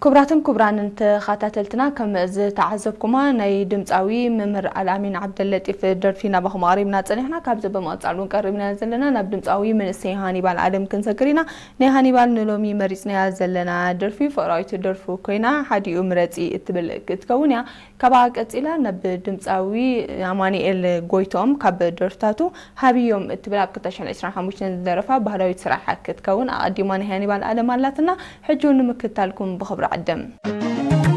ክቡራትን ክቡራንን ተኸታተልትና፣ ከም ዝተዓዘብኩማ ናይ ድምፃዊ መምህር ኣልኣሚን ዓብደለጢፍ ደርፊ ናባኹም ኣቕሪብና ጸኒሕና። ካብዚ ብምቕጻል እውን ቀሪብና ዘለና ናብ ድምፃዊ መንእሰይ ሃኒባል ኣለም ክንሰግር ኢና። ናይ ሃኒባል ንሎሚ መሪጽናያ ዘለና ደርፊ ፍቕራዊት ደርፉ ኮይና ሓዲኡ ምረጺ እትብል ክትከውን እያ። ካብኣ ቀጺላ ናብ ድምፃዊ ኣማኑኤል ጎይቶም ካብ ደርፍታቱ ሃብዮም እትብል ኣብ ክልተ ሽሕን ዕስራን ሓሙሽተን ዝደረፋ ባህላዊት ስራሕ ክትከውን ኣቐዲማ ናይ ሃኒባል ኣለም ኣላትና። ሕጂ እውን ንምክታልኩም ብኽብሪ ዕድም።